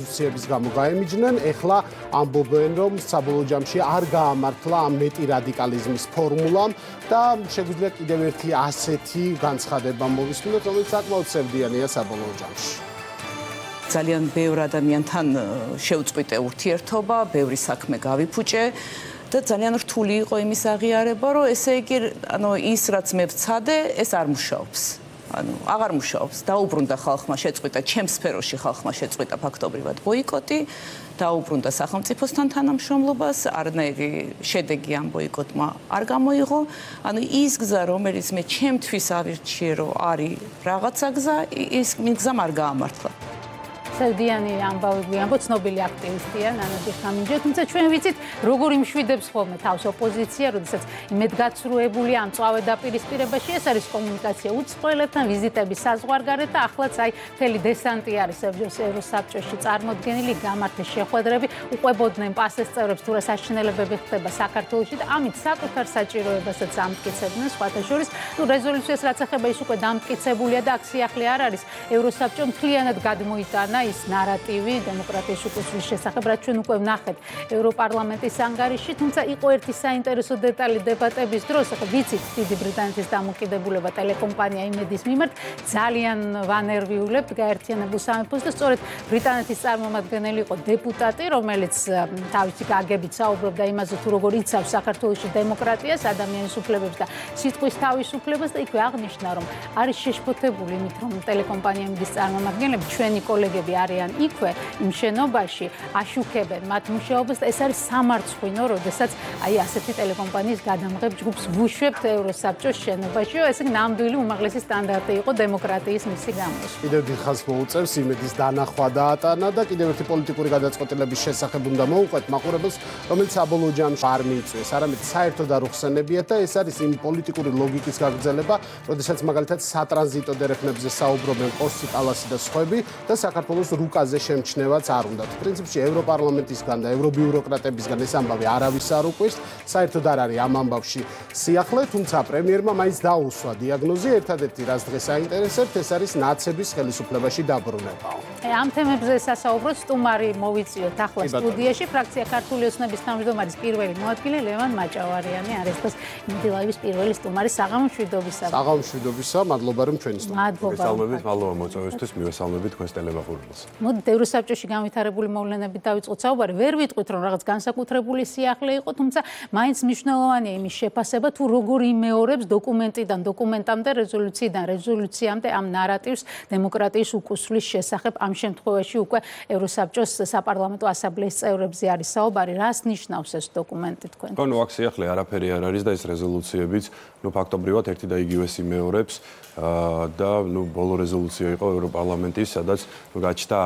Siebis გამო გაემიჯნენ, ეხლა ამბობენ, რომ საბოლოო ჯამში არ გაამართლა ამ მეტი რადიკალიზმის ფორმულამ და შეგვიძლია კიდევ ერთი ასეთი განცხადება მოვისმინოთ, რომელიც საკმაოდ სევდიანია საბოლოო ჯამში. ძალიან ბევრ ადამიანთან შევწყვიტე ურთიერთობა, ბევრი საქმე გავიფუჭე და ძალიან რთული იყო იმის აღიარება, რომ ესე იგი, ის რაც მე ვცადე, ეს არ მუშაობს. აღარ მუშაობს. დაუბრუნდა ხალხმა შეწყვიტა, ჩემს სფეროში ხალხმა შეწყვიტა ფაქტობრივად ბოიკოტი, დაუბრუნდა სახელმწიფოსთან თანამშრომლობას, არანაირი შედეგი ამ ბოიკოტმა არ გამოიღო. ის გზა, რომელიც მე ჩემთვის ავირჩიე, რომ არის რაღაცა გზა, ის გზამ არ გაამართლა. სევდიანი ამბავი ამბო ცნობილი აქტივისტია ნანაჯი ხამინჯე, თუმცა ჩვენ ვიცით როგორ იმშვიდებს ხოლმე თავს ოპოზიცია, როდესაც იმედგაცრუებული ან წავე დაპირისპირებაში ეს არის კომუნიკაცია უცხოელებთან, ვიზიტები საზღვარგარეთ და ახლაც აი მთელი დესანტი არის ევროსაბჭოში წარმოდგენილი, გამართეს შეხვედრები, უყვებოდნენ პასეს წევრებს თუ რა საშინელებები ხდება საქართველოში და ამით საკუთარ საჭიროებასაც ამტკიცებდნენ სხვათა შორის. რეზოლუციას რაც ეხება ის უკვე დამტკიცებულია და აქ სიახლე არ არის. ევროსაბჭომ მთლიანად გადმოიტანა ის ნარატივი დემოკრატიის უკუსვლის შესახებ, რაც ჩვენ უკვე ვნახეთ ევროპარლამენტის ანგარიში, თუმცა იყო ერთი საინტერესო დეტალი დებატების დროს, ახლა ვიცით დიდი ბრიტანეთის დამოკიდებულება ტელეკომპანია იმედის მიმართ ძალიან ვანერვიულებთ გაერთიანებულ სამეფოს და სწორედ ბრიტანეთის წარმომადგენელი იყო დეპუტატი, რომელიც თავისი გაგებით საუბრობდა იმაზე, თუ როგორ იცავს საქართველოში დემოკრატიას, ადამიანის უფლებებს და სიტყვის თავისუფლებას და იქვე აღნიშნა, რომ არის შეშფოთებული იმით, რომ ტელეკომპანია იმედის წარმომადგენლები, ჩვენი კოლეგები არიან იქვე იმ შენობაში, აშუქებენ მათ მუშაობას და ეს არის სამარცხვინო, როდესაც აი ასეთი ტელეკომპანიის გადამღებ ჯგუფს ვუშვებთ ევროსაბჭოს შენობაში, ესე ნამდვილი უმაღლესი სტანდარტი იყო დემოკრატიის მისი გამოშვება. კიდევ დიდხანს მოუწევს იმედის დანახვა დაატანა და კიდევ ერთი პოლიტიკური გადაწყვეტილების შესახებ უნდა მოუყვეთ მაყურებელს, რომელიც საბოლოო ჯამში არ მიიწვიეს, არამედ საერთოდ არ უხსენებიათ და ეს არის იმ პოლიტიკური ლოგიკის გაგრძელება, როდესაც მაგალითად სატრანზიტო დერეფნებზე საუბრობენ კოსი, კალასი და სხვები და საქართველოს რუკაზე შემჩნევაც არ უნდათ. პრინციპში ევროპარლამენტისგან და ევრობიუროკრატებისგან ეს ამბავი არავის არ უკვირს, საერთოდ არ არის ამ ამბავში სიახლე, თუმცა პრემიერმა მაინც დაუსვა დიაგნოზი, ერთადერთი რაც დღეს აინტერესებთ, ეს არის ნაცების ხელისუფლებაში დაბრუნება. ამ თემებზე სასაუბროთ სტუმარი მოვიწიოთ ახლა სტუდიაში, ფრაქცია ქართული ოცნების თავმჯდომარის პირველი მოადგილე ლევან მაჭავარიანი არის დღეს იმედი ლაივის პირველი სტუმარი. საღამომშვიდობისა. საღამომშვიდობისა, მადლობა რომ ჩვენი სტუმარი. მოგესალმებით, მადლობა მოწვევისთვის, მივესალმებით თქვენს ტელემაყურებელს. მოდით ევროსაბჭოში განვითარებული მოვლენებით დავიწყოთ საუბარი. ვერ ვიტყვით, რომ რაღაც განსაკუთრებული სიახლე იყო, თუმცა მაინც მნიშვნელოვანია იმის შეფასება, თუ როგორ იმეორებს დოკუმენტიდან დოკუმენტამდე, რეზოლუციიდან რეზოლუციამდე ამ ნარატივს დემოკრატიის უკუსვლის შესახებ. ამ შემთხვევაში უკვე ევროსაბჭოს საპარლამენტო ასამბლეის წევრებზე არის საუბარი. რას ნიშნავს ეს დოკუმენტი თქვენ? ხო, აქ სიახლე არაფერი არ არის და ეს რეზოლუციებიც, ფაქტობრივად ერთი და იგივეს იმეორებს და ბოლო რეზოლუცია იყო ევროპარლამენტის, სადაც გაჩნდა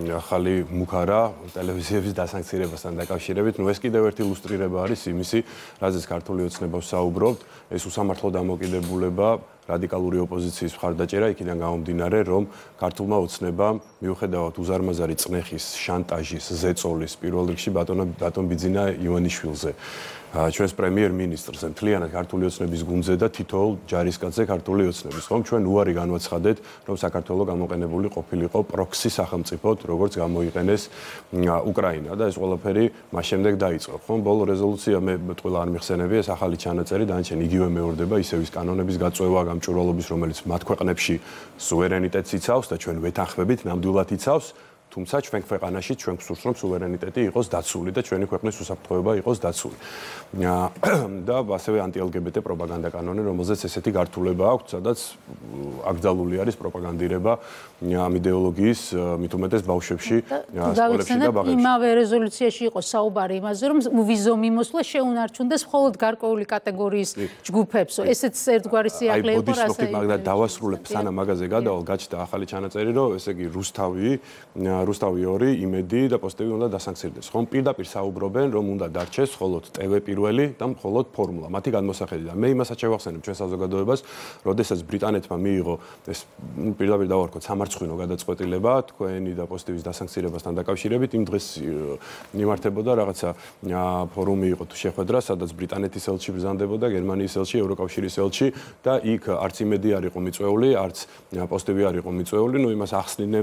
ახალი მუქარა ტელევიზიების დასანქცირებასთან დაკავშირებით. ეს კიდევ ერთი ილუსტრირება არის იმისი, რაზეც ქართული ოცნება ვსაუბრობთ, ეს უსამართლო დამოკიდებულება, რადიკალური ოპოზიციის მხარდაჭერა იქიდან გამომდინარე, რომ ქართულმა ოცნებამ მიუხედავად უზარმაზარი წნეხის, შანტაჟის, ზეწოლის პირველ რიგში ბატონ ბიძინა ივანიშვილზე, ჩვენს პრემიერ-მინისტრს, მთლიანად ქართული ოცნების გუნდზე და თითოეულ ჯარისკაცზე ქართული ოცნების. ხომ ჩვენ უარი განვაცხადეთ, რომ საქართველო გამოყენებული ყოფილიყო პროქსი სახელმწიფოდ, როგორც გამოიყენეს უკრაინა და ეს ყველაფერი მას შემდეგ დაიწყო. ხომ ბოლო რეზოლუცია მე ტყუილა არ მიხსენები, ეს ახალი ჩანაწერი დანარჩენ იგივე მეორდება ისევის კანონების გაწევა, გამჭვირვალობის, რომელიც მათ ქვეყნებში სუვერენიტეტს იცავს და ჩვენ ვეთანხმებით, ნამდვილად იცავს. თუმცა ჩვენ ქვეყანაში ჩვენ გვსურს რომ სუვერენიტეტი იყოს დაცული და ჩვენი ქვეყნის უსაფრთხოება იყოს დაცული. და ასევე ანტი-LGBT პროპაგანდა კანონი, რომელზეც ესეთი გართულება აქვს, სადაც აკრძალული არის პროპაგანდირება ამ იდეოლოგიის მით უმეტეს ბავშვებში, სკოლებში და ბაღებში. იმავე რეზოლუციაში იყო საუბარი იმაზე, რომ ვიზო მიმოსვლა შეუნარჩუნდეს მხოლოდ გარკვეული კატეგორიის ჯგუფებს. ესეც ერთგვარი სიახლე იყო, რასაც მაგრამ დავასრულებ სანამ მაგაზე გადავალ, გაჩნდა ახალი ჩანაწერი, რომ ესე იგი რუსთავი 2, იმედი და პოსტები უნდა დასანქცირდეს. ხომ პირდაპირ საუბრობენ, რომ უნდა დარჩეს მხოლოდ TV პირველი და მხოლოდ ფორმულა. მათი გადმოსახედიდან. მე იმასაც შევახსენებ ჩვენ საზოგადოებას, როდესაც ბრიტანეთმა მიიღო ეს პირდაპირ დავარქოთ სამარცხვინო გადაწყვეტილება თქვენი და პოსტების დასანქცირებასთან დაკავშირებით, იმ დღეს მიმართებოდა რაღაცა ფორუმი იყო თუ შეხვედრა, სადაც ბრიტანეთის ელჩი ბრძანდებოდა, გერმანიის ელჩი, ევროკავშირის ელჩი და იქ არც იმედი არ იყო მიწვეული, არც პოსტები არ იყო მიწვეული, იმას ახსნიდნენ